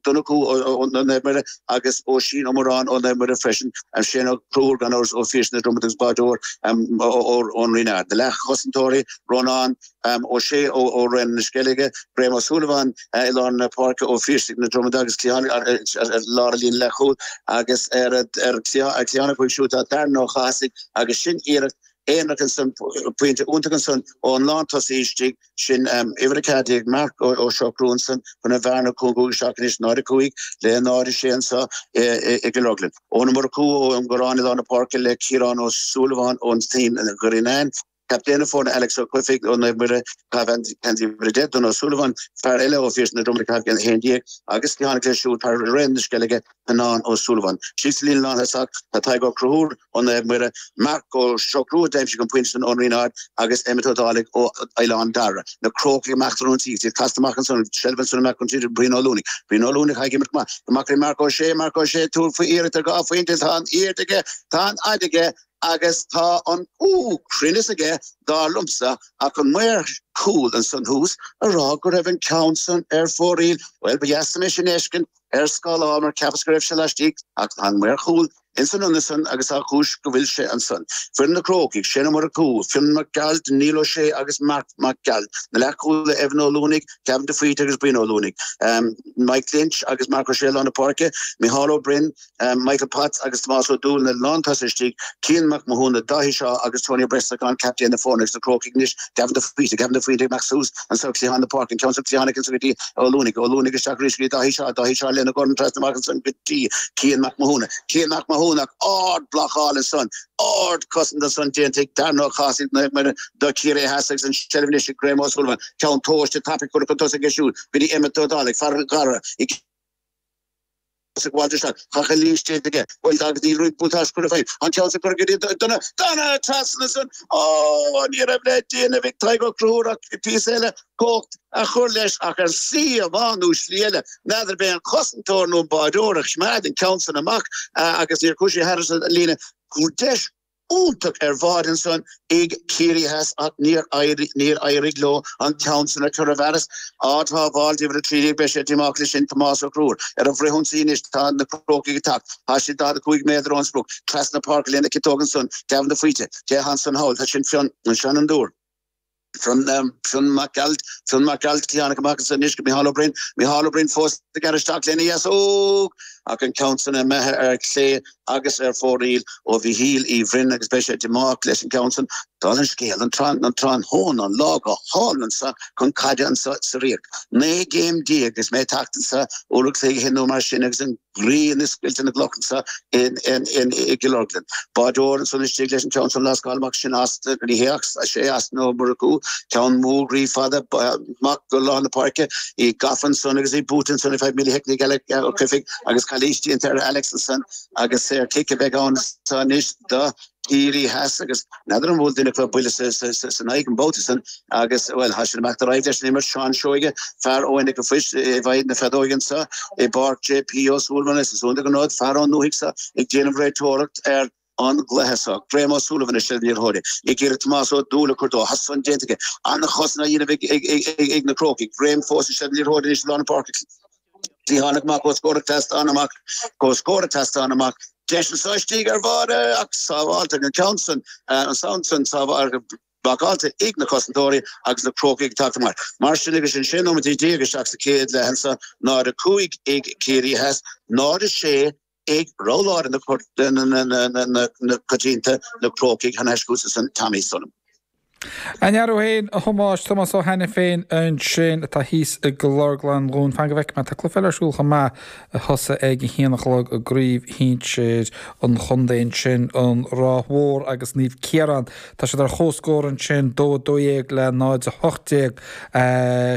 Donnchú ó Naomh Muire agus Oisín Ó Móráin ó Naomh Muire freisin, Shane Ó Conchúir gan amhras ó Phiarsaigh na Dromad agus báideoir ón Rinn Ard. Na leathchosantóirí, Rónán Ó Sé ó Raon na Sceilge, Graham Ó Súilleabháin i lár na páirce ó Phiarsaigh na Dromada agus cliathán i lár an líne leathchúil agus ar chliathán acu siúd tá Darren Ó Cathasaigh agus sin iarracht aonarach ansan, pointe iontach ansan ón lántosaí istigh, sin uimhir 14, Marc Ó Siochrú ansan chun an bhearna a chúngú isteach anois, 0-5 le 0-6 anso i gCill Orglan. Eoin Ó Murchú ón gCoireán i lár na páirce le Ciarán Ó Súilleabháin ón Ghrianán. Captaen na foirne Alex Ó Cofaigh ó Naomh Muire, ag caitheamh geansaí uimhir 10, Donagh Ó Súilleabháin, fear eile ó Phiarsaigh na Dromad ag caitheamh 11, agus cliathánach leis siúd, fear Raon na Sceilge, Conán Ó Súilleabháin. Síos sa líne lánthosach tá Tadhg Ó Conchúir ó Naomh Muire, Marc Ó Siochrú a d'aimsigh an pointe san ón Rinn Ard agus Emmet Ó Dálaigh ó Oileán Dara. Na Crócaigh amach don ionsaí agus iad casta amach ansan, seilbh ansan amach chun tríd Brian Ó Luanaigh. Brian Ó Luanaigh ag imirt go maith. Amach go dtí Marc Ó Sé, Marc Ó Sé ag tabhairt faoi iarracht ar dhá phointe, tá an airde aige, tá an fhaid aige, Agus tá an cruinneas aige, dar liomsa, ach an maor cúil ansan thuas a rá go raibh an ceann san ar fóraoil. Bhuel, ba dheas liom é sin a fheiscint ar scáileán mar cheapas go raibh sé laistigh, ach tá an maor cúil ins an ionad san agus tá cúis go bhfuil sé ansan. Foireann na Crócaigh, Shane Ó Murchú, Fionn Mac Gearailt, Neil Ó Sé agus Marc Mac Gearailt. Na leathchúlaithe Evan Ó Luanaigh, Gavin de Faoite agus Brian Ó Luanaigh. Mike Lynch agus Marc Ó Sé i lár na páirce, Micheál Ó Broin, Michael Potts agus Tomás Ó Dúill na lántosaithe istigh, Cian Mac Mathúna, Dáithí Shaw agus Tony Ó Brosnacháin, captaen na foirne agus na Crócaigh anois, Gavin de Faoite, Gavin de Faoite ag imeacht suas anso cliathán na páirce, an ceann san cliathánach anso go dtí Ó Luanaigh, Ó Luanaigh isteach arís go dtí Dáithí Shaw, Dáithí Shaw lena dhorn trasna amach ansan go dtí Cian Mac Mathúna, Cian Mac Mathúna ach ard-bhlocáil ansan, ard-chosaint ansan déanta ag Darren Ó Cathasaigh Naomh Muire do Chiarraí Theas agus an tseilbh anois ag Graham O'Sullivan, ceann tomhaiste tapaidh curtha chun tosaigh aige siúd go dtí Emmet Ó Dálaigh, fear Dhara i. Ag gabháil isteach. Tá calaois déanta aige. Bhuel, agus níl roinnt buntáiste curtha i bhfeidhm. An ceann san curtha go dtí Donagh. Donagh trasna ansan. Ó, ní raibh le déanamh ag Tadhg Ó Conchúir ach píosa eile cumhacht a chur leis ach ar shlí amháin nó slí eile, n'fheadar b'é an cosantóir nó an báideoir a choimeád an ceann san amach agus níor chuaigh sé thairis an líne. Deis iontach ar bháide ansan ag Ciarraí Theas ach níor éirigh leo an ceann san a chur i bhfearas. Ard-shábháil d'uimhir 13, beidh sé díomách leis sin, Tomás Ó Conchúir. Ar an bhfrithionsaí anois tá na Crócaigh ag teacht. Tá siad 45 méadar ón sprioc. Trasna páirce lena ciotóg ansan, Gavin de Faoite. Cé atá ansan thall? Tá sin Fionn, ansan an dúr. Fionn, Fionn Mac Gearailt, Fionn Mac Gearailt, cliathánach amach ansan anois go Micheál Ó Broin, Micheál Ó Broin fós ag gearradh isteach lena dheasóg ach an ceann san imithe ar chlé agus ar fóraoil ó Mhichíl Uí Bhroin agus beidh sé díomách leis an gceann san. Dála an scéil, an tráthnóna, an lá go hálainn anso chun caide anso sa Ríocht. 19 gcéim is mé ag teacht anso uair an chloig ó shin nó mar sin agus an. ghrian ag scoilteadh na gcloch anso i gCill Orglan. Báideoir ansan istigh leis an ceann san lascáil amach sin as ní hé ach sé Austin Ó Murchú, ceann mór groí fada amach go lár na páirce, í gafa ansan agus í buaite ansan ar feadh millishoicind ag Alex Ó Cofaigh agus calaois déanta ar Alex ansan agus saor cic a bheidh ann anois do Chiarraí Theas agus n'fheadar an bhfuail duine acu buille san aghaidh an babhta san agus, bhuel, tá siad ag imeacht ar aghaidh leis an imirt. Seán Seoige, fear ó Inse an Phoist i bhfeighil na feadóige anso i bPáirc JP Ó Súilleabháin is is iontach an rud, fear ón ndúthaigh so ag déanamh réiteoireacht ar an gcluiche so. Graham Ó Súilleabháin i seilbh na liathróide ag iarraidh Tomás Ó Dúill a chur dó. Tá san déanta aige. An-chosaint á dhéanamh ag na Crócaigh. Graham fós i seilbh na liathróide anois i lár na páirce. Cliathánach amach comhscór ag trasnán amach, comhscór ag trasnán amach. Deis anso istigh ar bháide ach sábháilte an ceann san, an ceann san sábháilte, blocáilte ag na cosantóirí agus na Crócaigh ag teacht amach. Mar sin agus sin 16 nóiméad isteach sa chéad leath anso, 0-5 ag Ciarraí Theas, 0-6 ag rogha láidir na coitianta, na Crócaigh thar n-ais chugatsa ansan Tommy Sullivan. An fhear féin, a Thomáis, Tomás Ó hAiniféin ansin atá thíos i gCill Orglan dhúinn. Fan go bhfeicfidh mé, tá cluiche eile ar siúl chomh maith a thosaigh ag a haon a chlog i gcraobh shinsir an chontae ansin, an Ráth Mhór agus Naomh Ciarán. Tá siad ar comhscór ansin, 2-12 le 0-18,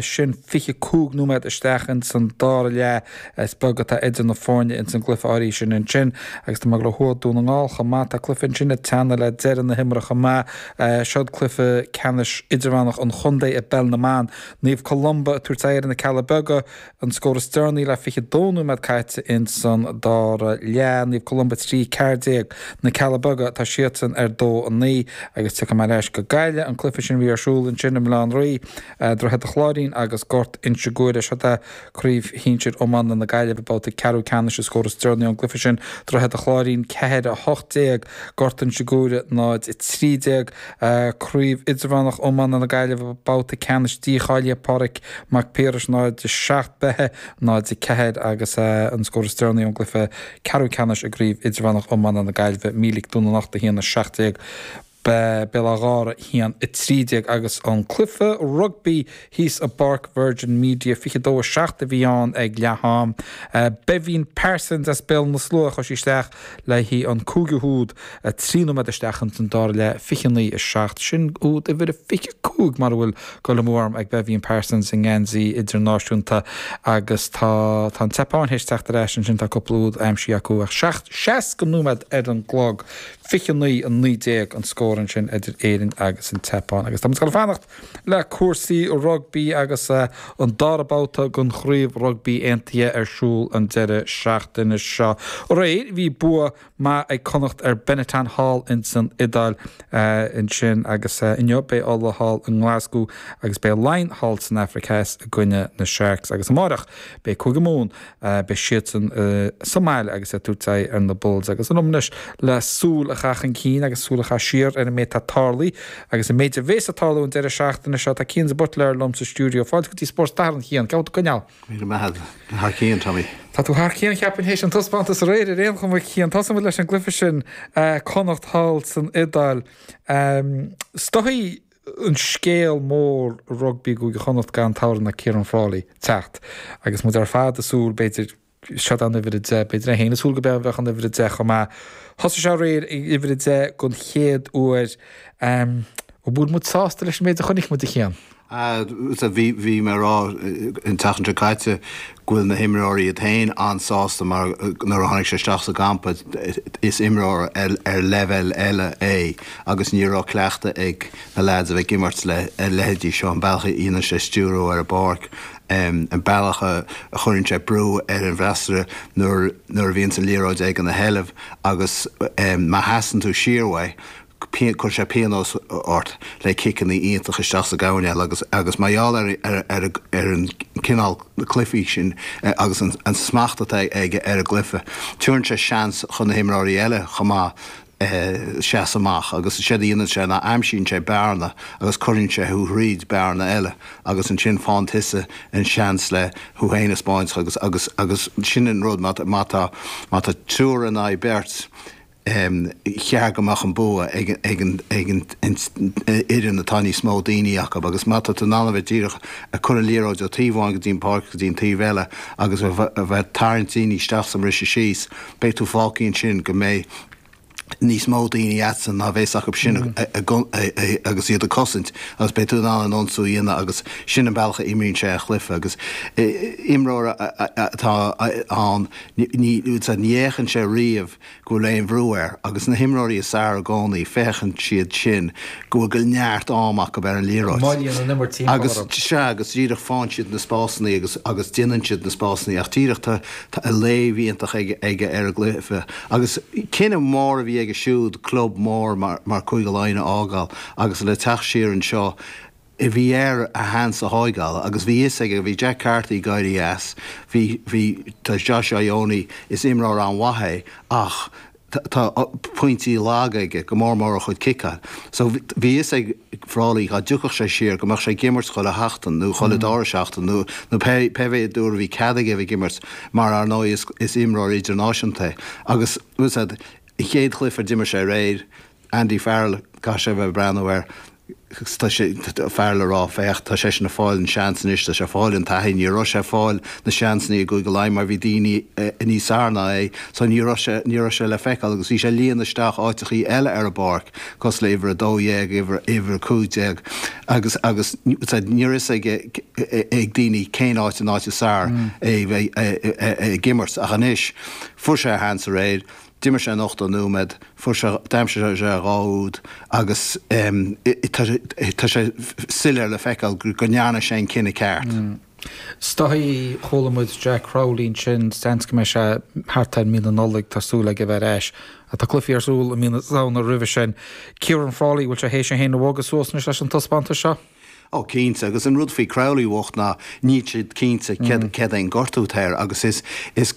sin 25 nóiméad isteach ins an dara leath. Is beag atá idir na foirne ins an gcluiche áirithe sin ansin agus tá mé ag dul ó thuaidh Dún na nGall chomh maith. Tá cluiche ansin ag teannadh le deireadh na himeartha chomh maith. Seod cluiche. babhta ceannais idirmheánach an chontae i bPeil na mBan. Naomh Columba ag tabhairt aghaidh ar na Cealla Beaga, an scór is deireanaí le 22 nóiméad caite ins an dara leath. Naomh Columba 3, 14, Na Cealla Beaga, tá siadsan ar 2, 9 agus tiocfaidh mé ar ais go Gaillimh. An cluiche sin a bhí ar siúl ansin i mBaile Átha an Rí, Droichead an Chláirín agus Gort Inse Guaire. Seo é Craobh Shinsir Iomána na Gaillimhe, babhta ceathrú ceannais, an scór is deireanaí ón gcluiche sin, Droichead an Chláirín 4, 18, Gort Inse Guaire 0, 13. Craobh Idirmheánach Iomána na Gaillimhe, babhta ceannais dícháilithe, Pádraig Mac Piarais 0, 7, Beithe 0, 4 agus an scór is deireanaí ón gcluiche ceathrú ceannais i gCraobh Idirmheánach Iomána na Gaillimhe, Mílic Dún na nOchta 1, 17. Béal Átha Ghártha 1, 13 agus an cluiche rugbaí thíos i bPáirc Virgin Media, 22, 7 a bhí ann ag leath am. Beibhín Parsons as Béal na Slua a chuir sí isteach le haghaidh an cúigiú húd, 3 nóiméad isteach ins an dara leath, 29, 7. Sin úd uimhir a 25 mara bhfuil dul amú orm ag Beibhín Parsons i ngeansaí idirnáisiúnta agus tá tá an tSeapáin théis teacht ar ais ansin, tá cúpla úd aimsithe acu ach 60 nóiméad ar an gclog. 29, 19 an scór ansin idir Éirinn agus an tSeapáin. Agus tá muid ag dul a fanacht le cúrsaí rugbaí agus an dara babhta den Chraobh Rugbaí Aontaithe ar siúl an deireadh seachtaine seo. Aréir bhí bua maith ag Connacht ar Benetton thall ins an Iodáil ansin agus inniu beidh Ulaidh thall i nGlasgow agus beidh Laighin thall san Afraic Theas i gcoinne na Sharks. Agus amáireach beidh Cúige Mumhan Beidh siadsan sa mbaile agus ag tabhairt aghaidh ar na Bulls. Agus an am anois le súil a chaitheamh chun cinn agus súil a chaitheamh siar ar an méid atá tarlaithe agus an méid a bhéas ag tarlú an deireadh seachtaine seo. Tá Cian de Buitléar liom sa stiúideo. Fáilte go dtí Spórt Sathairn, a Chian. Cén chaoi bhfuil tú ag coinneáil? Míle maith agat. Thar cionn, Tommy. Tá tú thar cionn, cheapfainn, théis an taispeántas aréir ar aon chuma, Cian. Tosóidh muid leis an gcluiche sin, Connacht thall san Iodáil. Is dóigh an scéal mór i rugbaí i gCúige Chonnacht gan t-amhrán ná Ciaran Frawley teacht agus muid ar fad ag súil, b'fhéidir, seod an uimhir 10, b'fhéidir é féin ag súil go mbeadh an uimhir 10 chomh maith. Thosaigh sé aréir ag uimhir 10 don chéad uair. An bhfuil muid sásta leis an méid a chonaic muid, a Chian? Bhí, bhí mé ag rá an tseachtain seo caite go bhfuil na himreoirí iad féin an-sásta mar nuair a tháinig sé isteach sa gcampa is imreoir ar leibhéal eile é agus ní raibh cleachtadh ag na leaids a bheith ag imirt le leithéidí seo, an bealach a dhéanann sé stiúradh ar an bpáirc, an bealach a chuireann sé brú ar an bhfreasúra nuair nuair a bhíonns an liathróid aige ina sheilbh agus má sheasann tú siar uaidh Cuireann sé pionós ort le ciceanna iontacha isteach sa gcoirnéal agus agus mar gheall ar ar ar ar an cineál cluichí sin agus an an smacht atá aige ar an gcluiche, tabharann sé seans chun na himreoirí eile chomh maith seasamh amach agus séard a dhéanann sé ná aimsíonn sé bearna agus cuireann sé thú thríd bearna eile agus ansin faigheann tusa an seans le thú féin a 'spáint agus agus agus sin an rud má má tá má tá triúr in aghaidh beirt cheart go mbeadh an bua ag an fhoireann atá níos mó daoine acu agus má tá tú in ann a bheith díreach ag cur an liathróid ó taobh amháin go dtí an páirc go dtí an taobh eile agus a bheith ag tarraingt daoine isteach is ag briseadh síos, beidh tú fágtha ansin go mbeidh níos mó daoine agatsa ná bhéas acu sin agus iad ag cosaint agus beidh tú in ann an ionsú a dhéanamh agus sin an bealach a imríonn sé a chluiche agus imreoir atá ann ní fhéachann sé riamh go bhfuil aon bhrú air agus na himreoirí is fearr i gcónaí, féachann siad sin go bhfuil go neart am acu ar an liathróid. Moillíonn an imirt timpeall Agus, orthu. sea, agus díreach faigheann siad na spásanna agus, agus déanann siad na spásanna ach díreach tá, tá léamh iontach aige, aige ar an gcluiche. Agus cinneadh mór a bhí aige siúd club mór mar, mar Cúige Laighean a fhágáil agus le teacht siar anseo, Bhí air a sheans a thóigeáil agus bhí fhios aige, bhí Jack Carty ag éirí as, bhí, bhí, tá Josh Ioane, is imreoir an-mhaith é ach tá pointí laga aige, go mór mór a chuid ciceáil. So bhí fhios ag Frawley dhá dtiocfadh sé siar go mbeadh sé ag imirt chuile sheachtain nó chuile dara seachtain nó, nó pé, pé mhéad uair a bhí cead aige a bheith ag imirt mar ar ndóigh is, is imreoir idirnáisiúnta é. Agus, bhfuil fhios a'd, an chéad chluiche a d'imir sé aréir, Andy Farrell, caithfidh sé a bheith ag breathnú air, tá sé, Farrell ag rá, féach, tá seisean ag fáil an seans anois, tá sé ag fáil an taithí, ní raibh sé ag fáil na seansanna i gCúige Laighean mar bhí daoine níos fearr ná é, so ní raibh sé, ní raibh sé le feiceáil agus bhí sé ag líonadh isteach áiteachaí eile ar an bpáirc, cosúil le uimhir 12, uimhir, uimhir 15 agus, agus ní raibh fhios ag, ag daoine cén áit an áit is fearr é bheith ag imirt ach anois, fuair sé a sheans aréir. D'imir sé an 80 nóiméad, fuair sé, d'aimsigh sé 2 úd agus tá sé soiléir le feiceáil go ndearna sé an cinneadh ceart. Is dóigh, chuala muid Jack Crowley ansin, seans go mbeidh sé thart ar mí na Nollag, tá súil aige a bheith ar ais. Tá cluichí ar siúl i mí na Samhna roimhe sin. Ciaran Frawley, bhfuil sé théis é féin a bhogadh suas anois leis an taispeántas seo? Ó cinnte, agus an rud faoi Crowley bhocht ná níl siad cinnte céard é an gortú atá air agus is is.